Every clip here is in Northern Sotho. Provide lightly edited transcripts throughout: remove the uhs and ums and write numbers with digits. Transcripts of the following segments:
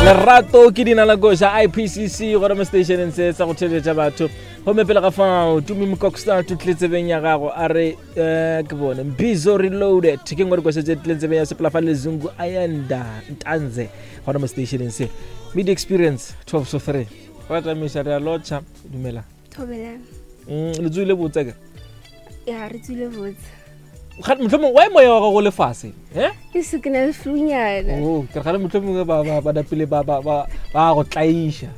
Lerato ke dina la koša IPCC gona mo stationeng se sa go theletša batho. Gomme pele ga fao Tumi Mokoksta tutletsebeng ya gago a re eh, ke bone Mbizo Reloaded ke ngwe dikoša tše tlileng tsebeng ya sepela fa Lezungu Ayanda Ntanze gona mo stationeng se. Media Experience 12 to 3. Ra tamiša re a lotšha dumela. Thobela. Le tswile botse ke? Ya re tswile botse. Mohlomongwe wa moya wa gago le fase eh? Ke se ke na le flunyana. Oh, ke re gale mohlomongwe ba ba ba napile ba ba ba ba go tlaiša.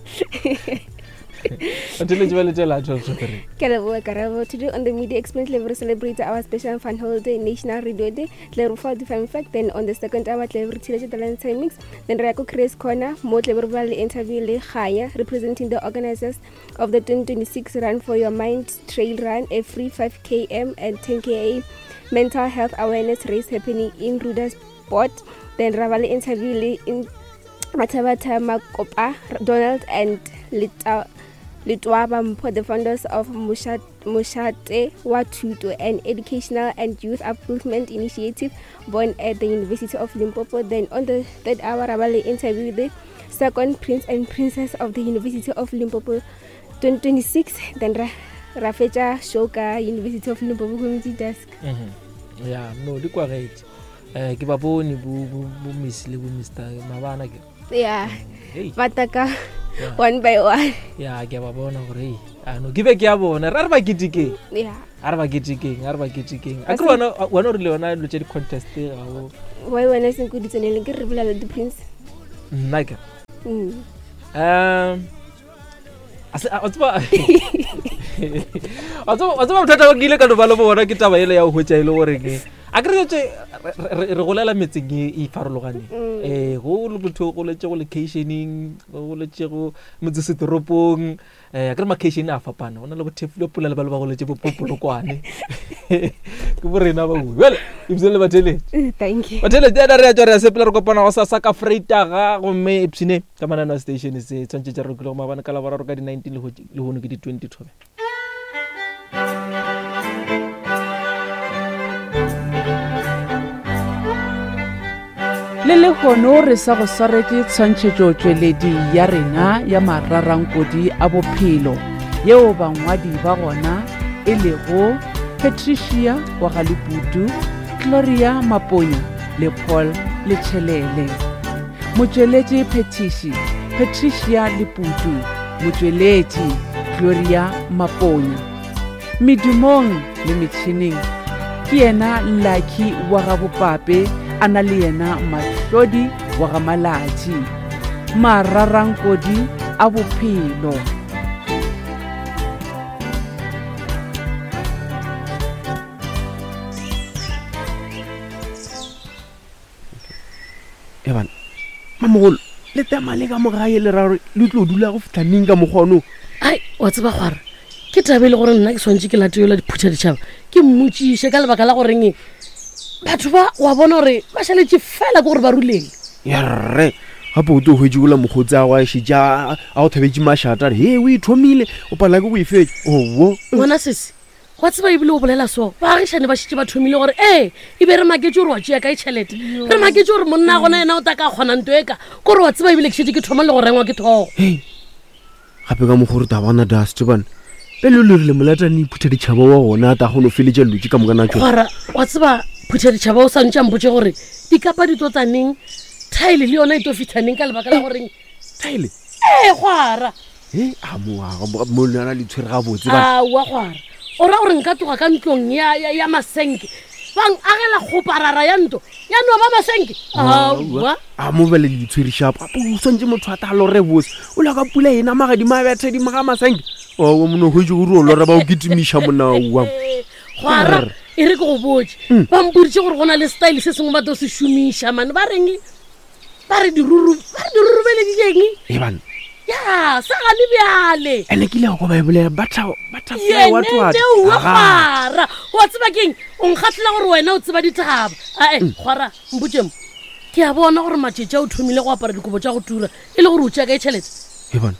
Until ba letela 12 to 3. Ke leboga Karabo. Today on the Media Experience Level we celebrate our special fun holiday, National Radio Day. Tle re fa di fun fact then on the second hour tle re thile talent mix. Then re ya ko Chris Corner mo tle re ba le interview le Khanya representing the organizers of the 2026 Run for Your Mind Trail Run, a free 5 km and 10 km mental health awareness race happening in Rudersport. Then ra ba le interview le in Mathabatha Makopa, Donald and Leta Letwaba Mpho, the founders of Moshate wa Thuto, an educational and youth upliftment initiative born at the University of Limpopo. Then on the third hour, ra ba le interview the second prince and princess of the University of Limpopo 2026. Then ra ra fetša show ka University of Limpopo Community Desk. Mm -hmm. Ya, no, di kwagetše. Eh, ke ba bone bo bo bo miss le bo mister mabana ke. Yeah. Hey. Ba taka yeah. one by one. Ya, ke ba bona gore hey, a no ke be ke ya bona. Ra re ba ketekeng. Yeah. A re ba ketekeng, a re ba ketekeng. A ke wena wena o rile yona dilo tša di-contest ga o. Why wena seng ko di tseneleng ke re bolela di prince. Nna ke. Mm. Um a tseba a tseba bothata ba ke ile ka no ba le bona ke taba ele ya go hwetša e le gore ke a ke re tse re golela metseng e e farologaneng um go le motho o goletšego locationeng go goletšego motseseteropong um a ke re makeišene a fapana go na le bothefulopula le ba le ba goletse bopopolokwane ke bo rena ba bue bjale ebile le batheletše batheletše ena re ya tswa re ya sepela re kopana go sasa ka freitaga gomme epshine ka manano a station se tshwanetse tša re lokile go maabane ka laboraro ka di-19 lehono ke di-20 thobe Le lehono re sa go swaretše tshwantšhetšotšweledi ya rena ya mararankodi a bophelo yeo bangwadi ba gona e lego Patricia wa ga Leputu, Gloria Maponya le Paul Letšhelele. Motšweletši phethiši Patricia Leputu, motšweletši Gloria Maponya. Medumong le metšhineng ke yena Lucky wa ga Bopape a na le yena Mahlodi wa ga Malatši. Mararankodi a bophelo. Ebana, mamogolo le tema le ka mogae le ra gore le tlo dula go fitlha neng ka mokgwa ono? Ai, wa tseba gwara ke tabe e le gore nna ke swantše ke late yola diphutha ditšhaba ke mmotšiše ka lebaka la goreng batho ba wa bona gore ba šaletše fela ke gore ba ruleng. Ya rre, gape o tlo hwetše ola mokgotsi a go a šetše a go thabetše mašata a re he o e thomile o palela ke go e fetša. Owo. Ngwana sesi, Gwa tseba ebile o bolela so, baagišane ba šetše ba thomile gore ee, e be re maketše gore wa tšea kae tšhelete. Re maketše gore monna gona yena o ta ka kgona nto e ka, kore wa tseba ebile ke šetše ke thoma le go rengwa ke thogo. Hei, gape ka mokgwa o re ta bona dust bana. Pele o le rile molatane iphutha ditšhaba wa gona a ta kgone go feletša dilo tše ka moka na tšona. Gwara, wa tseba phutha ditšhaba o sa ntše a mpotše gore dikapa di tlo tla neng, thaele le yona e tlo fihla neng ka lebaka la goreng. Thaele? Ee, gwara. He, a mo a mo lona le tshwere gabotse ba. Aowa gwara. O ra gore nka tloga ka ntlong ya ya ya masenke. Ba agela kgoparara ya ntlo ya no ba masenke. Aowa. A mo bele le tshwere sharp. Gape o swantse motho a ta lore bose. O la ka pula ena magadima a betha di maga masenke. Aowa mono hwetše gore o lora ba o kitimiša mona aowa. Gwara, e re ke go botše. Ba mpoditše gore go na le style se sengwe ba tlo se šomiša mane ba reng? Ba re diruru, ba re dirurubeleditšeng? E bana. Ya, sa gane bjale. Ene ke ile go ba e bolela butter butterfly what what. Yene wa gwara. Wa tseba keng? O nkgahlela gore wena o tseba ditaba. Ae, mm. gwara, mpotše mo. Ke a bona gore matšetša o thomile go apara dikobo tša go tura e le gore o tšea kae tšhelete? E bana.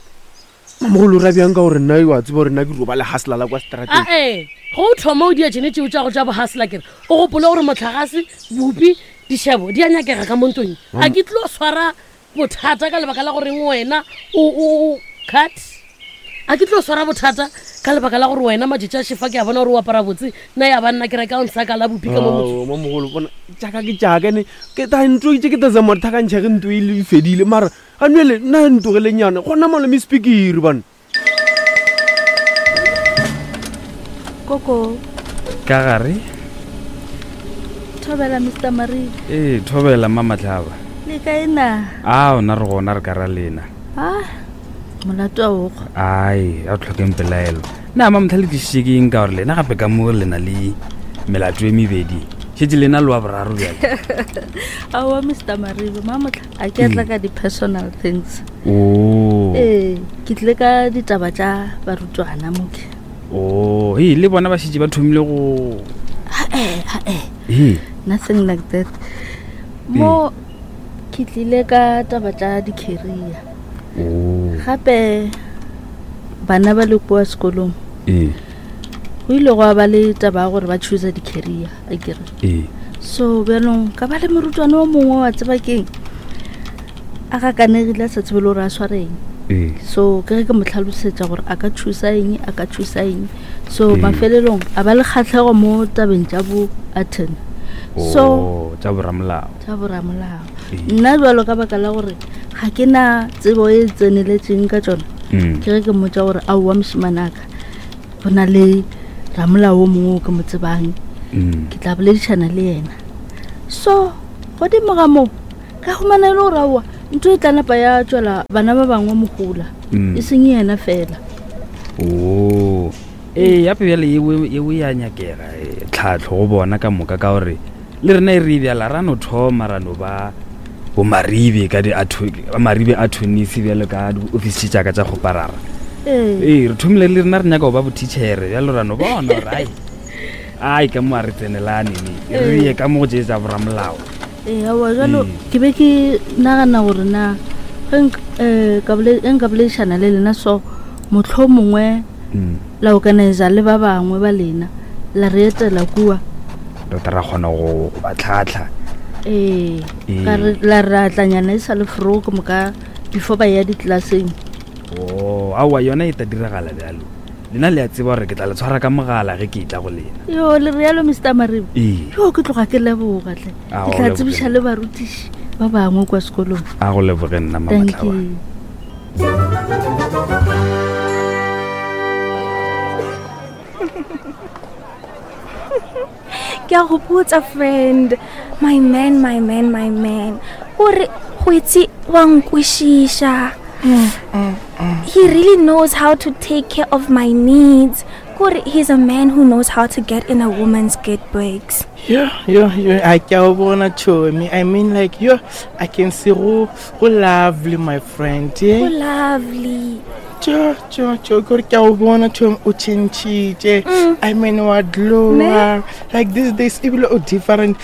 Mamogolo o ra bjang ka gore nna wa tseba gore nna ke roba le hustler la kwa strateng. Ae, go o thoma o dia tšene tšeo tša go tša bohustler kere o gopole gore motlagase, bupi, dišebo di a nyakega ka mo ntlong. A ke tlo swara. bothata ka lebaka la goreng wena o o cut a ke tlo swara bothata ka lebaka la gore wena matšatši a šefa ke a bona gore o apara botse nna ya banna ke reka onsa ka la bopi ka mo motho mamogolo bona jaaka ke jaaka ne ke ta ntlo itse ke ta zama thakantšha ge ntlo e le fedile mara ga nwele nna ntogelenyana gona malome speakere bana Koko. Ka gare. Thobela Mr. Marie. Ee, thobela mma Matlhaba. Le kae na? A ona re gona re ka ra lena. Ah, molato a ogo. Ai, a tlhokeng pelaelo. Na mma Motlha le tlišitše ke eng ka gore lena gape ka mo le na le melato e mebedi. Šetše lena le wa boraro bjale. Aowa Mr. Maribe, mma Motlha a ke tla ka di-personal things. Oh. Ee, ke tlile ka ditaba tša barutwana moke. Oh, ee, le bona ba šetše ba thomile go Hae, hae. Ee. Nothing like that. Mo ke tlile ka taba tša di-career. Oh. Gape bana ba le kua sekolong. Ee. Go ile gwa ba le taba ya gore ba choose di-career, akere. Ee. So bjalong ka ba le morutwana o mongwe wa tseba keng a gakanegile a sa tsebe le gore a swareng ee. So ke ge ke mo tlhalosetša gore a ka thusa eng, a ka thusa eng. So mafelelong a ba le kgatlhego mo tabeng tša bo attorney. So Oh, tša boramolao. Tša boramolao. Nna bjalo ka baka la gore ga ke na tsebo e tseneletšeng ka tšona, ke ge ke mmotša gore aowa mošemane aka go na le ramolao o mongwe o ke mo tsebang, ke tla boledišana le yena. So godimo ga moo ka humana e le gore aowa ntho e tla napa ya tšwela bana ba bangwe mogola, e seng yena fela. Oo, ee, gape bjale yeo ya nyakega tlhahlo go bona ka moka, ka gore le rena e re bjala ra no thoma ra no ba bomaribe ka di maribe a thonisi bjalo ka diofisi tše tšaka tša kgoparara. Ee, re thomile le rena re nyaka go ba bothitšhere bjalo ra no bona gore ai ai ka mo a re tsenelane ne re ye ka mo go tše tša boramolao. Ee, aowa jalo ke be ke nagana gore na ge eh, nka boledišana le lena so motlho mongwe la organizer le ba bangwe ba lena la re etela kua, re tla ra kgona go ba tlhatlha. Ee, ka re la re atlanyana e sa le fro ke moka before ba ya ditlelaseng. O aowa, yona e ta diragala bjalo. Lena le a tseba gore ke tla le tshwara ka mogala ge ke etla go lena. Yo, le realo Mr. Maribe? Ee. Yo, ke tloga ke leboga tle. A Ke go tla leboge tsebiša nna. le barutiši ba bangwe kwa sekolong. A go leboge nna, Thank Mamatlaba. you. Ke a go botsa friend, my man, my man, my man, gore go itse wa nkwešiša. He really knows how to take care of my needs. Kore he's a man who knows how to get in a woman's good books. Yo, yo, yo, I ke a o bona chomi. I mean like yo, I can see go go lovely my friend. Go lovely. Cho, cho, cho, kore ke a o bona chomi o changile. I mean wa glow. Like these days ebile o different.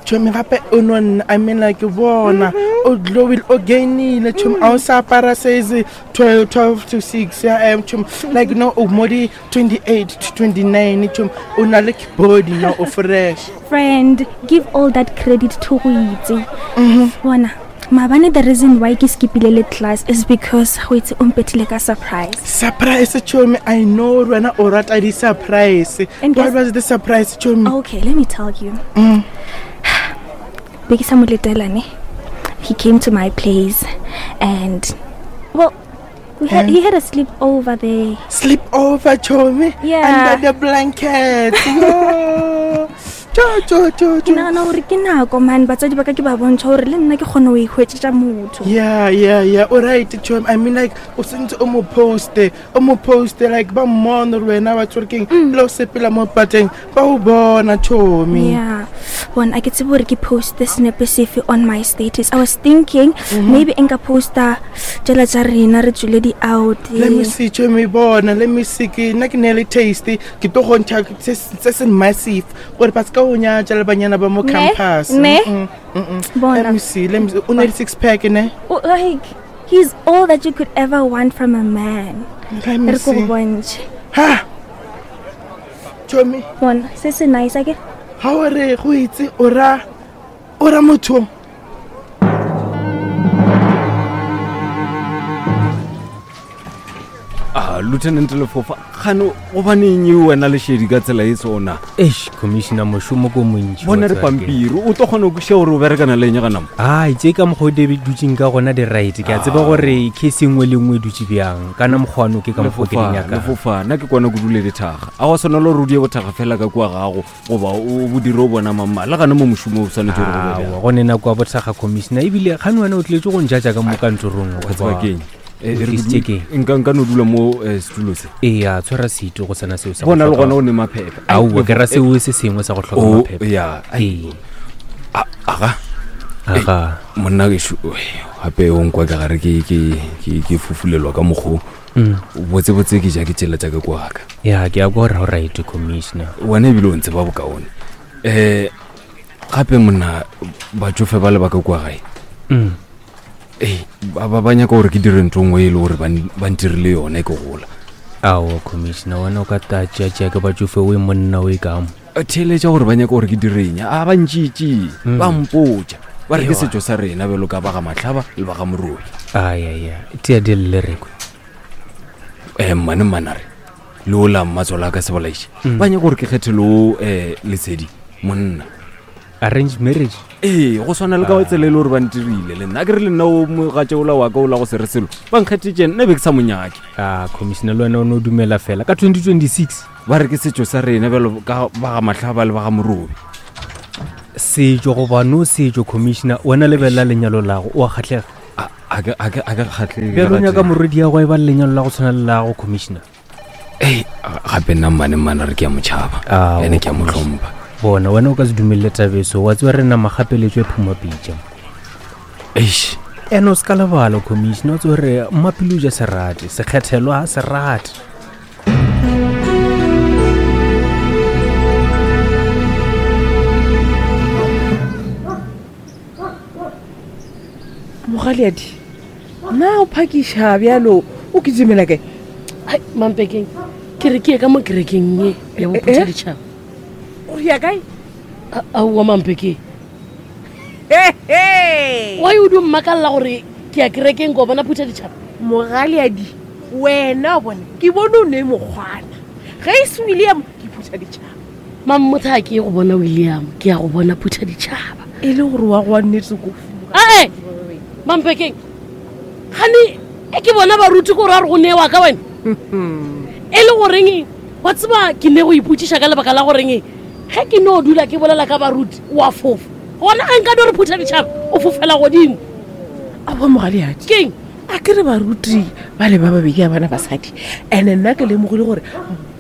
Chomi gape o no nna, I mean like bona o glowile, o gainile chomi, a o sa apara size 12, 12 to 6 ya em chomi, like no o mo di 28 to 29 chomi, o na le body now, o fresh. Friend, give all that credit to go itse. Bona, maabane the reason why ke skipile le class is because go itse o mpethile ka surprise. Surprise chomi, I know wena o rata di surprise. And What guess was the surprise chomi? Okay, let me tell you. Be ke sa mo letela ne. He came to my place and well, we had, he had a sleepover there. Sleep over chomi? Yeah. Under the blanket. Yo. Cho, cho, cho, Ke cho. nagana gore ke nako man batswadi ba ka ke ba bontšha gore le nna ke kgone go ihwetšetša motho. Yeah, yeah, yeah. All right, chomi. I mean like o sentse o mo poste, o mo poste like ba mmone gore wena wa tsore keng, le o sepela mo pateng, ba o bona chomi. Yeah. Bona, a ke tsebe gore ke poste senepe sefe on my status. I was thinking maybe nka posta tšela tša rena re tswile di-out. Let me see chomi, bona, let me see ke nna ke ne le taste, ke tlo go ntšha se se massive gore ba ska o nyatša le banyana ba mo Ne? campus. Ne? Bona. Let me see, let me see. O ne le six pack ne? O, like he's all that you could ever want from a man. Let me Re ko go see. bontšhe. Ha. Chomi. Bona, se se nice ake. Ha o re go itse o ra motho. Lieutenant Lefofa, gane gobaneng e wena lešedi ka tsela e sona? Eish, commissioner mošomo ko montši. Bona re pampiri, o tlo kgona go kwešiša gore o berekana le eng gana mo? Ai, tše ka mokgwa o di dutseng ka gona di right. Ke a tseba Ah. gore case e nngwe le nngwe e dutše bjang. Kana mokgwano ke ka mokgwa ke di Lefofa, nyakang. Lefofa, nna ke kwana kudu le dithaga. A wa swanela gore o die bothaga fela ka kua gago goba o bo dire o bona mamma. Le gane mo mošomo o swanetše gore go be bjang. Aowa, go ne nako ya bothaga commissioner ebile gane wena o tletše go njatša ka mo kantorong. Wa tseba goba ke eng? o tlisitše ke eng? Nka no dula mo setulo se. Ee, tshwara setu go sena seo sa go Bona le hloka- gona o ne maphephe. Ai, Aowa, ke ra Lefo- seo se sengwe sa go hloka Oh, maphephe. ya. Ee. Aga. Aga. Monna gešo, gape o nkwa ke gare ke fufulelwa ka mokgo. Botsebotse ke ja ke tsela tša ka kwa ka. Ya, ke a kwa gore o right commissioner. Wena ebile o ntseba bokaone. Gape monna batsofe ba le ba ka kwa gae. Ee, ba nyaka gore ke dire ntho nngwe e le gore ba ntirile yone ke gola. Aowa commissioner, wena o ka ta tšea-tšea ke batsofe o e monna o e ka mo. Theeletša gore ba nyaka gore ke direng, a ba ntšitše, ba mpotša. Ba re ke Ewa. setšo sa rena bjalo ka ba ga Mahlaba le ba ga Morobi. Ai, ai, ai, tea di lle re kwe. Mmane mmanare, le ola mmatswalo a ka sebolaiše. Ba nyaka gore ke kgethe le o Lesedi, monna. Arranged marriage? Ee, go swana le ka tsela e le gore ba ntirile le nna. A ke re le nna o mogatša ola wa ka ola go se re selo, ba nkgethetse nna be ke sa mo nyake. Ah, commissioner, le wena o ne o dumela fela ka 2026. Ba re ke setšo sa rena bjalo ka ba ga Mahlaba le ba ga Morobi. Setšo goba no setšo, commissioner, wena lebelela lenyalo lago, o a kgahlega. A ke kgahlege Bjalo o ka nyaka teng. morwedi ya go e ba le lenyalo la go tshwana le lago, commissioner. Ei, gape nna mmane mmane re ke a motšhaba, ene ke a mo hlompha. Bona, wena o ka se dumelele tabeso, wa tseba re na magapeletšo e phuma pitša. Eish. Ene o se ka lebala, commissioner, o tsebe gore mmapele o ja serate, sekgethelwa ha serate. Mogaleadi, na o phakiša bjalo o kitimela kae? Ai, Mampekeng, ke re ke ye ka mo kerekeng ye ya bophutha ditšhaba. O ya kae? Aowa, Mampekeng. Why o di mmakalla gore ke ya kerekeng ko bona phutha ditšhaba? Mogaleadi, wena o bone, ke bone o ne mokgwana. Ge e se William, ke phutha ditšhaba. Mammotha, ke ye go bona William, ke ya go bona phutha ditšhaba. E le gore wa go wa nnete ko Ae, Mampekeng, gane e ke bona baruti ko gore a re go newa ka wena. E le goreng, wa tseba ke ne go ipotšiša ka lebaka la goreng ge ke no dula ke bolela ka baruti wa fofa. Gona ge nka no re phutha ditšhaba, o fofela godimo. Aowa, mogaleadi. Keng? A ke re baruti ba le ba babedi a bana basadi, and-e nna ke lemogile gore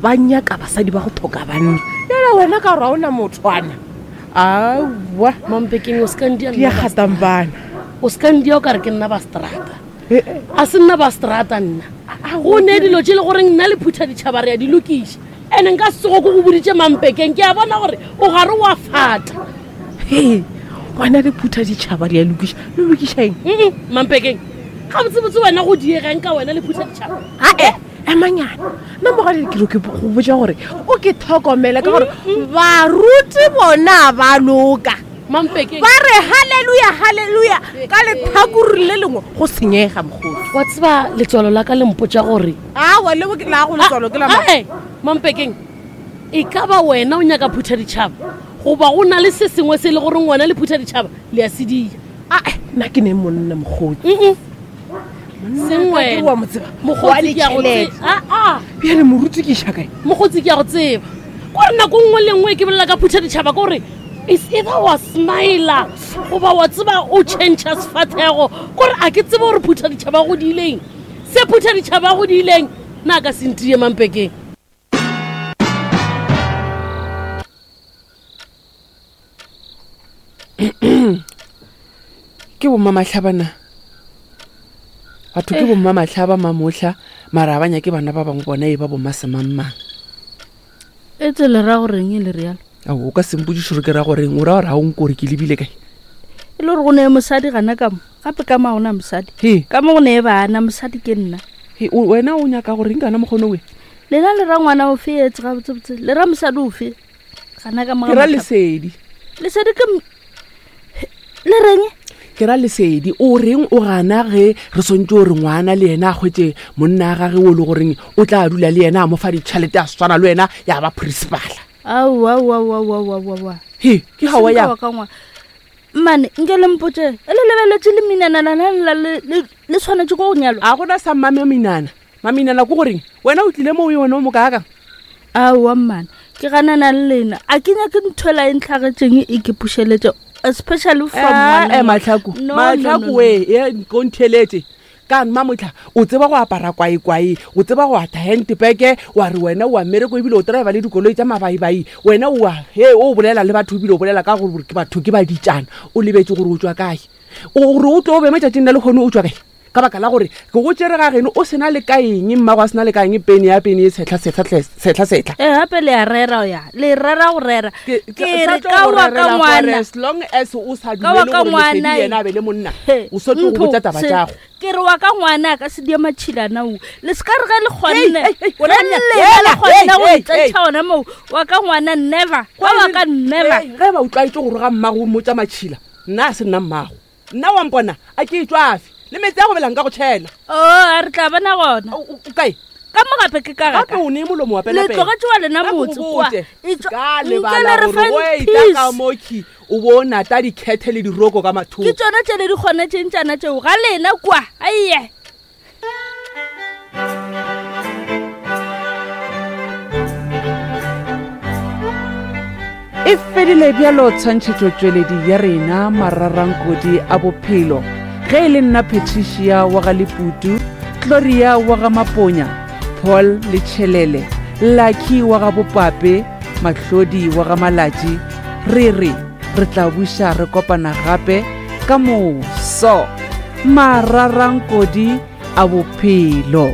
ba nyaka basadi ba go tlhoka banna. Jale wena ka gore ga ona mothwana. Aowa. Mampekeng, o se ka ndia Di a nna ba gatang bana. O se ka ndia o ka re ke nna ba strata. A se nna ba strata nna. Go ne dilo tše le goreng nna le phutha ditšhaba re a di lokiša. Ene nka se tsogo ke go boditše Mampekeng, ke a bona gore o gare wa fata. He, wena le phutha ditšhaba di a lokiša. Le lokiša eng? Mampekeng, gabotsebotse wena go diegang ka wena le phutha ditšhaba? Ae, emanyana. Nna mogadi ke re ke go botša gore o ke tlhokomele ka gore baruti bona ba loka. Mampekeng. Ba re hallelujah, hallelujah ka letlhakore le lengwe go senyega mokgotsi. Wa tseba letswalo la ka le mpotša gore Aowa, le bo ke la go letswalo ke la mang? Ae, Mampekeng, e ka ba wena o nyaka phutha ditšhaba goba go na le se sengwe se e le goreng wena le phutha ditšhaba le a sedia? Ae, nna ke ne monna mokgotsi. Seng Ka ke wena. wa mo tseba. Mokgotsi Wa ke a go ditjhelete. tseba. Ah, ah. Bjale moruti ke iša kae? Mokgotsi ke a go tseba. Kore nako nngwe le nngwe ke bolela ka phutha ditšhaba ke gore is either wa smila goba wa tseba o change-a sefathego. Kore a ke tsebe gore phutha ditšhaba go diileng. Se phutha ditšhaba go diileng, nna ka se ntie Mampekeng. Ke bomma Mahlabana. Batho ke bomma Mahlaba mamohla, mara ba nyake bana ba bangwe bona e ba bomma semangmang. E tse le ra goreng e le realo? Ao, o ka se mpotšiše gore ke ra goreng, o ra gore ga o nko gore ke lebile kae? E le gore go ne mosadi gana ka mo, gape ka mo ga gona mosadi. He. Ka mo go ne bana, mosadi ke nna. He, wena o nyaka goreng kana mokgono we? Lena le ra ngwana ofe etse gabotsebotse? Le ra mosadi ofe? Gana ka mo ga Ke ra Mahlaba. Lesedi. Lesedi ke le reng? Ke ra Lesedi, o reng o gana ge re swantše gore ngwana le yena a hwetše monna a gage o le goreng o tla dula le yena a mo fa ditšhelete a swana le wena ya ba principala? Aowaowaowaowaowa. He, ke gawa ya. Mmane, nke le mpotše, e le lebeletše le minana lana la le, le, le swanetše ko go nyalwa? A gona sa mmame minana. Maminana ko goreng? Wena o tlile mo o yone o mo kaakang? Aowa mmane, ke ganana le lena. A ke nyake ntho ela e ntlhagetšeng e ke pušeletše, especially from Eh, ngwana. eh, Mahlaku, No, no, Mahlaku no, no. we, e ko ntheletše. Ka mmamotlha, o tseba go apara kwaekwae, o tseba go atha handbag, wa re wena o a mmereko ebile o driver le dikoloi tša mabaibai. Wena o a, he, o bolela le batho ebile o bolela ka gore ke batho ke baditšana. O lebetše gore o tšwa kae. O gore o tlo be matšatšing la lehono o tšwa kae? Ka baka la gore ke go tšere ga geno o se na le ka eng, mmago a se na le ka eng, pene ya pene e tshehla, sehla, hle, sehla, sehla. Ee, gape le a rera ya, le rera go rera. Ke, Ke ke re sa tlo ka go wa ka rerela gore ngwana. as long as o sa Ka wa dumele ka gore ngwana Lesedi e. yena a be le monna, He, o sa tlo go ntho, botša taba se, tšago. Ke re wa ka ngwana a ka se die matšhilana o. Le se ka re ge le kgonne, Hei, hei, hei, wena ge monna, lena le hela, kgonne hei, go hei, itsentšha hei. gona moo, wa ka ngwana never, ka wa ka never. Hei, ge ba o tlwaetše go roga mmago o mmotša matšhila, nna a se nna mmago. Nna wa mpona a ke etšwafe le meetse a go belang ka go tšhela. O, a re tla bona gona. O kae? Ka mo gape ke ka Gape o nee molomo wa Le penapena. tlogetše wa lena Ka go motse kwa. botše, Etšwa- ka Nke lebala le re gore fang o etla ka peace. mokhi o bo o nata dikhethe le diroko ka mathoko. Ke tšona tše le di kgonetšeng tšana tšeo ga lena kwa. Aiye. E fedile bjalo tshwantšhetšotšweledi ya rena Mararankodi a Bophelo. Ge e le nna Patricia wa ga Leputu, Gloria wa ga Maponya, Paul Letšhelele, Lucky wa ga Bopape, Mahlodi wa ga Malatši, re re re tla buša re kopana gape ka moso. Mararankodi a Bophelo.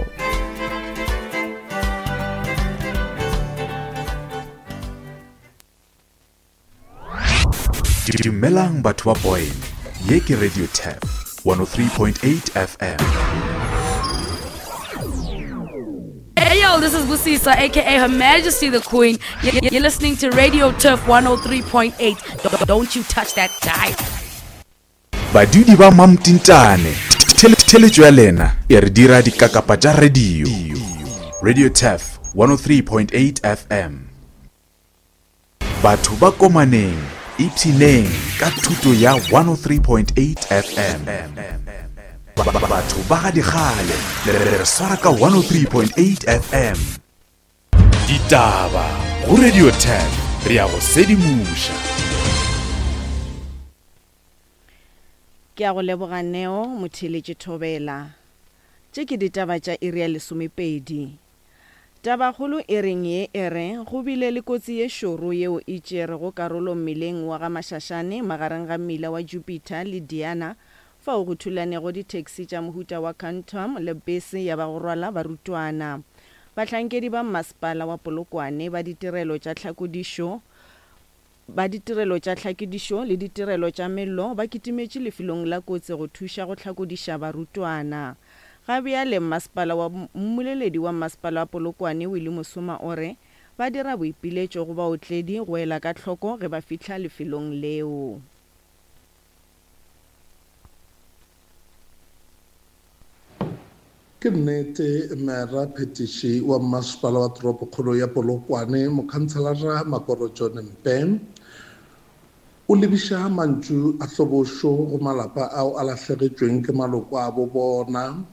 Dumelang batho ba Boyne, ye ke Radio Tap 103.8 FM. Hey yo, this is Busisa, aka Her Majesty the Queen. You're listening to Radio Turf 103.8. Don't you touch that dial. Badudi ba Mamtintane, theletšo ya lena e re dira dikakapa tša radio. Radio Turf 103.8 FM. Batho ba Komaneng, ipshineng ka thuto ya 103.8 FM. Batho ba ga dikgale, le re swara ka 103.8 FM. Ditaba go Radio Turf, re ya go sedimoša. Ke a go leboga Neo, motheeletši Thobela. Tše ke ditaba tša iri ya lesomepedi. Tabakgolo iring ye e re go bile le kotsi ye šoro yeo e tšerego karolo mmileng wa ga Mashashane magareng ga mmila wa Jupiter le Diana fao go thulanego ditaxi tša mohuta wa Quantum le bese ya ba go rwala barutwana. Bahlankedi ba mmasepala wa Polokwane ba ditirelo tša tlhakodišo Ba ditirelo tša tlhakodišo le ditirelo tša mello ba kitimetše lefelong la kotsi go thuša go hlakodiša barutwana. Ga bjale mmasepala wa Mmoleledi wa mmasepala wa Polokwane Willie Mosoma o re ba dira boipiletšo go baotledi go ela ka hloko ge ba fihla lefelong leo. Ke nnete, Mera Phetiši wa Mmasepala wa Toropokgolo ya Polokwane, Mokhanselara Makoro John Mpe, o lebiša mantšu a hlobošo go malapa ao a lahlegetšweng ke maloko a bo bona.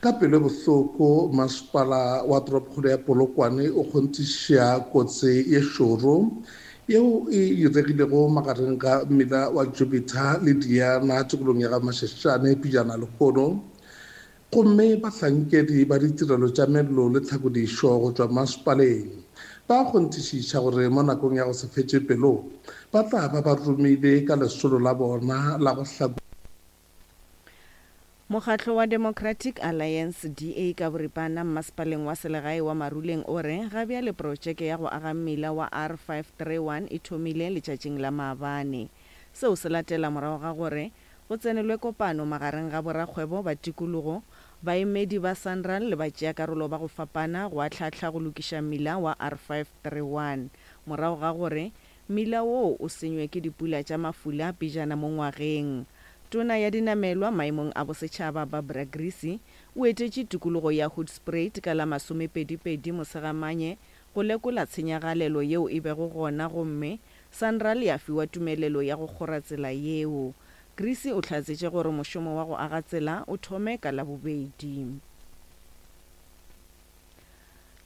Ka pelo e bohloko, Masepala wa Toropokgolo ya Polokwane o kgonthiša kotsi ye šoro yeo e diregilego magareng ga mmila wa Jupiter le Diana tikolong ya ga Mashashane pejana lehono. Gomme bahlankedi ba ditirelo tša mello le tlhakodišo go tšwa masepaleng ba kgonthišiša gore mo nakong ya go se fetše pelo ba tla ba ba romile ka lesolo la bona la go hlakodiša. Mokgatlo wa Democratic Alliance, DA, ka boripana mmasepaleng wa selegae wa Maruleng o re ga bjale protšeke ya go aga mmila wa R531 e thomile letšatšing la maabane. Seo se latela morago ga gore go tsenelwe kopano magareng ga borakgwebo ba tikologo, baemedi ba Sanral le batšeakarolo ba go fapana go ahlaahla go lokiša mmila wa R531 morago ga gore mmila woo o senywe ke dipula tša mafula pejana mo ngwageng. Tona ya Dinamelwa maemong a bosetšhaba Barbara Creecy o etetše tikologo ya Hoedspruit ka la masomepedipedi Mosegamanye go lekola tshenyagalelo yeo e bego gona gomme Sanral ya fiwa tumelelo ya go kgora tsela yeo. Creecy o hlatsetše gore mošomo wa go aga tsela o thome ka Labobedi.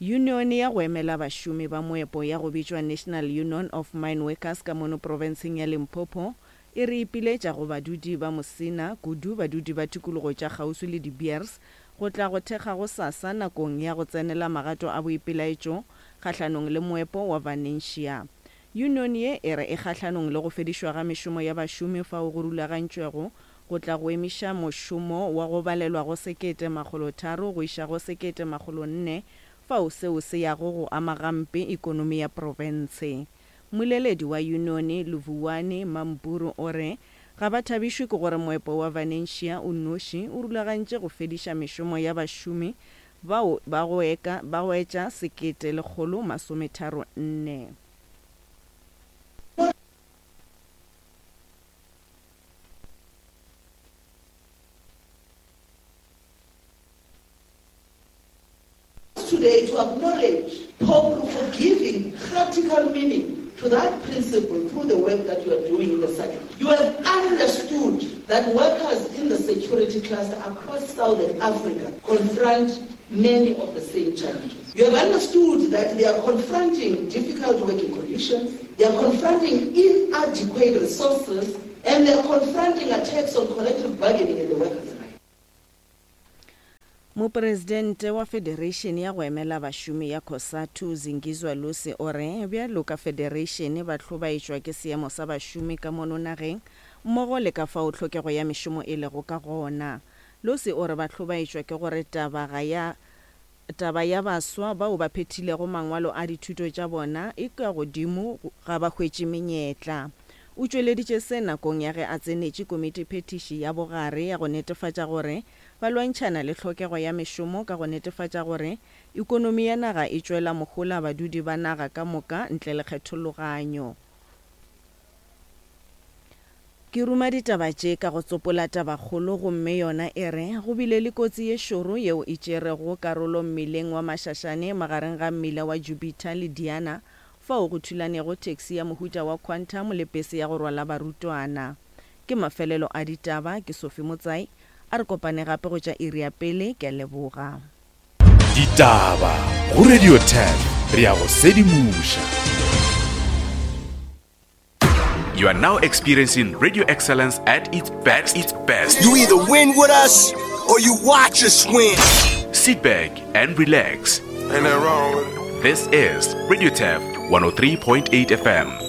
Yunione ya go emela bašomi ba moepo ya go bitšwa National Union of Mineworkers ka mono profenseng ya Limpopo e re ipiletša go badudi ba Musina, kudu badudi ba tikologo tša kgauswi le De Beers, go tla go thekga gosasa nakong ya go tsenela magato a boipelaetšo kgahlanong le moepo wa Vanencia. Yunione ye e re e kgahlanong le go fedišwa ga mešomo ya bašomi fao go rulagantšwego go tla go emiša mošomo wa go balelwa go 1300 go iša go 1400 fao seo se yago go ama gampe ikonomi ya profense. Mmoleledi wa yunione Luvuwani Mampuru o re ga ba thabišwe ke gore moepo wa Vanencia o nnoši o rulagantše go fediša mešomo ya bašomi bao ba go eka ba go etša 1134. Today to acknowledge POPRU for giving practical meaning to that principle through the work that you are doing in the SADC. You have understood that workers in the security cluster across Southern Africa confront many of the same challenges. You have understood that they are confronting difficult working conditions, they are confronting inadequate resources, and they are confronting attacks on collective bargaining and the workers' rights. Mopresidente wa Federeišene ya go emela bašomi ya Cosatu, Zingizwa Lusi o re bjalo ka federeišene ba hlobaetšwa ke seemo sa bašomi ka mono nageng mmogo le ka fao tlhokego ya mešomo e lego ka gona. Lusi o re ba hlobaetšwa ke gore taba ga ya Taba ya baswa bao ba phethilego mangwalo a dithuto tša bona e ka godimo ga ba hwetše menyetla. O tšweleditše se nakong ya ge a tsenetše komitiphethiši ya bogare ya go netefatša gore ba lwantšhana le hlokego ya mešomo ka go netefatša gore ekonomi ya naga e tšwela mohola badudi ba naga ka moka ntle le kgethologanyo. Ke ruma ditaba tše ka go tsopola tabakgolo gomme yona e re, Go bile le kotsi ye šoro yeo e tšerego karolo mmileng wa Mashashane magareng ga mmila wa Jupiter le Diana fao go thulanego taxi ya mohuta wa Quantum le pese ya go rwala barutwana. Ke mafelelo a ditaba, ke Sophie Motsai, a re kopane gape go tša iri ya pele, ke a leboga. Ditaba go Radio 10 re ya go sedimoša. You are now experiencing radio excellence at its best. Its best. You either win with us or you watch us win. Sit back and relax. Ain't that wrong with it? This is Radio Tef 103.8 FM.